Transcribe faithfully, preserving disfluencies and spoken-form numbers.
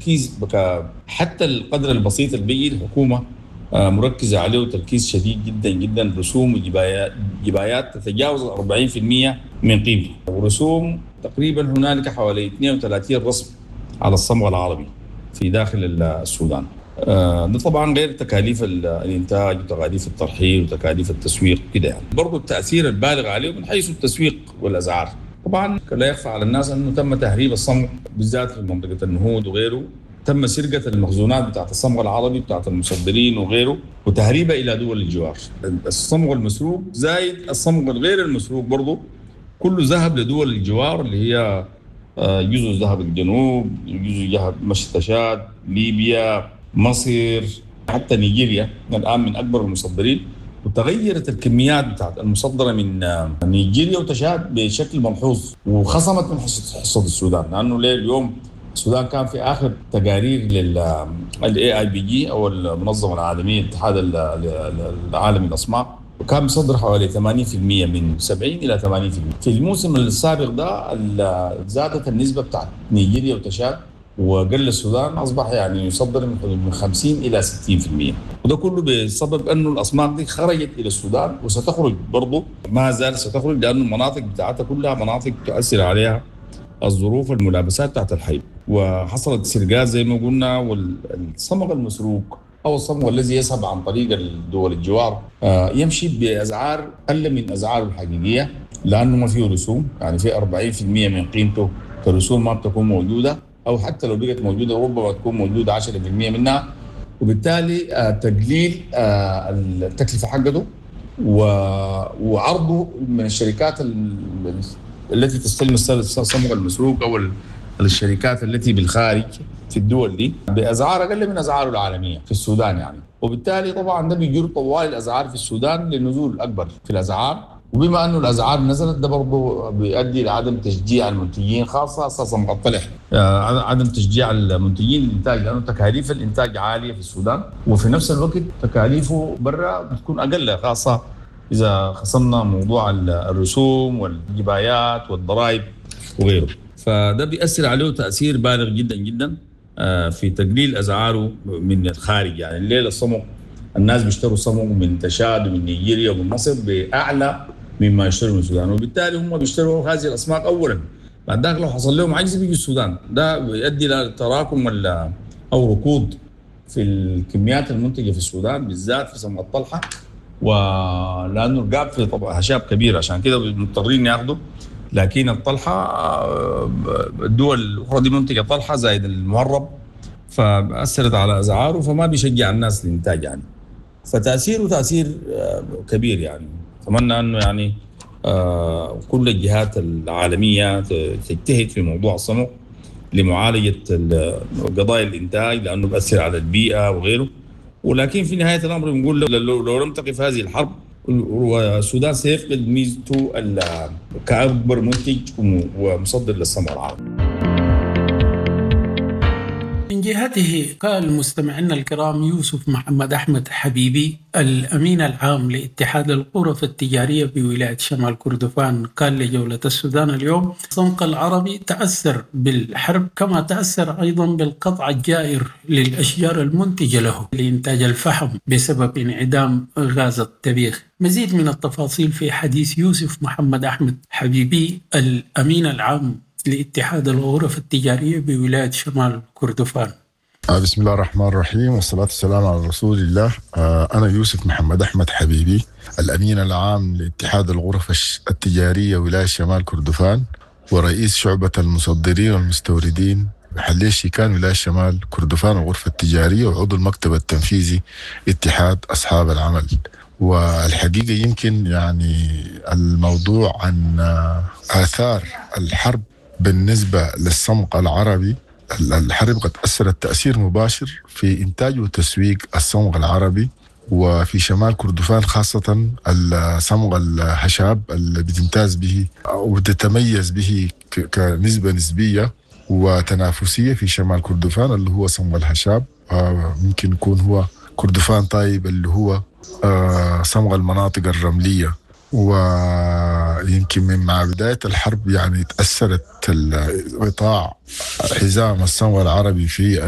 التركيز بك حتى القدر البسيط اللي بيجي الحكومة مركزه عليه تركيز شديد جدا جدا. رسوم وجبايات جبايات تتجاوز أربعين بالمئة من قيمته، ورسوم تقريبا هنالك حوالي اثنين وثلاثين رسم على الصمغ العربي في داخل السودان. ده طبعا غير تكاليف الانتاج وتكاليف الترحيل وتكاليف التسويق كده يعني. برضه التاثير البالغ عليه من حيث التسويق والاسعار. طبعا لا يخفى على الناس انه تم تهريب الصمغ بالذات في منطقة النهود وغيره، تم سرقه المخزونات بتاعت الصمغ العربي بتاعت المصدرين وغيره وتهريبها الى دول الجوار. الصمغ المسروق زايد الصمغ الغير المسروق برضه كله ذهب لدول الجوار اللي هي جزء ذهب الجنوب، جزء ذهب مشي تشاد، ليبيا، مصر، حتى نيجيريا الان من اكبر المصدرين. وتغيرت الكميات بتاعت المصدرة من نيجيريا وتشاد بشكل ملحوظ وخصمت من حصة السودان، لانه ليه اليوم السودان كان في اخر تقارير لل AIPG او المنظمة العالمية الاتحاد العالمي للاصماغ، وكان مصدر حوالي ثمانين بالمئة من سبعين الى ثمانين بالمئة. في الموسم السابق ده زادت النسبة بتاعت نيجيريا وتشاد وقل السودان، اصبح يعني يصدر من حدود من خمسين الى ستين بالمئة، وده كله بسبب انه الاصماغ دي خرجت الى السودان وستخرج برضه، ما زال ستخرج لانه المناطق بتاعتها كلها مناطق تؤثر عليها الظروف والملابسات بتاعت الحي، وحصلت سرقات زي ما قلنا. والصمغ المسروق او الصمغ الذي يذهب عن طريق الدول الجوار يمشي باسعار اقل من اسعاره الحقيقية لانه ما فيه رسوم، يعني في أربعين بالمئة من قيمته كرسوم ما بتكون موجودة، او حتى لو بقت موجودة ربما تكون موجودة عشرة بالمئة منها، وبالتالي تقليل التكلفة حقته وعرضه من الشركات التي تستلم الصمغ المسروق او الشركات التي بالخارج في الدول دي باسعار اقل من اسعاره العالمية في السودان يعني. وبالتالي طبعا ده بيجر طوال الاسعار في السودان لنزول اكبر في الاسعار، وبما انه الاسعار نزلت ده برضه بيؤدي لعدم تشجيع المنتجين، خاصة صمغ الطلح، عدم تشجيع المنتجين للانتاج لانه تكاليف الانتاج عالية في السودان، وفي نفس الوقت تكاليفه برا بتكون اقل، خاصة اذا خصمنا موضوع الرسوم والجبايات والضرائب وغيره. فده بيأثر عليه تأثير بالغ جدا جدا في تقليل اسعاره من الخارج. يعني الليلة الصمغ الناس بيشتروا صمغ من تشاد ومن نيجيريا ومن مصر باعلى مما يشتروا من السودان، وبالتالي هم بيشتروا هذه الاسماك اولا، بعد ذاك لو حصل لهم عجز بيجوا السودان. ده بيؤدي الى تراكم ولا او ركود في الكميات المنتجة في السودان بالذات في صمغ الطلحه، ولانه القاب في طبعا هشاب كبير عشان كده مضطرين ياخذوا. لكن الطلحه الدول الاخرى دي منتجه طلحة زائد المهرب، فاثرت على اسعاره فما بيشجع الناس للانتاج يعني. فتاثيره تاثير كبير يعني. اتمنى انه يعني كل الجهات العالمية تجتهد في موضوع الصمغ لمعالجة قضايا الانتاج لانه بيأثر على البيئة وغيره. ولكن في نهاية الامر بنقول لو, لو لم تقف هذه الحرب والسودان سيفقد ميزته كأكبر منتج ومصدر للصمغ العربي. من جهته قال مستمعينا الكرام يوسف محمد أحمد حبيبي الأمين العام لاتحاد الغرف التجارية بولاية شمال كردفان، قال لجولة السودان اليوم: الصمغ العربي تأثر بالحرب كما تأثر أيضا بالقطع الجائر للأشجار المنتجة له لإنتاج الفحم بسبب انعدام غاز الطبيخ. مزيد من التفاصيل في حديث يوسف محمد أحمد حبيبي الأمين العام لاتحاد الغرف التجارية بولاية شمال كردفان. بسم الله الرحمن الرحيم والصلاة والسلام على رسول الله. أنا يوسف محمد أحمد حبيبي الأمين العام لاتحاد الغرف التجارية ولاية شمال كردفان ورئيس شعبة المصدرين والمستوردين محلية شيكان ولاية شمال كردفان والغرفة التجارية وعضو المكتب التنفيذي اتحاد أصحاب العمل. والحقيقة يمكن يعني الموضوع عن آثار الحرب بالنسبة للصمغ العربي، الحرب قد أثرت تأثير مباشر في إنتاج وتسويق الصمغ العربي وفي شمال كردفان، خاصة الصمغ الهشاب اللي بتمتاز به أو بتتميز به كنسبة نسبية وتنافسية في شمال كردفان اللي هو صمغ الهشاب، ممكن يكون هو كردفان طيب اللي هو صمغ المناطق الرملية. ويمكن من مع بداية الحرب يعني تأثرت قطاع حزام الصمغ العربي في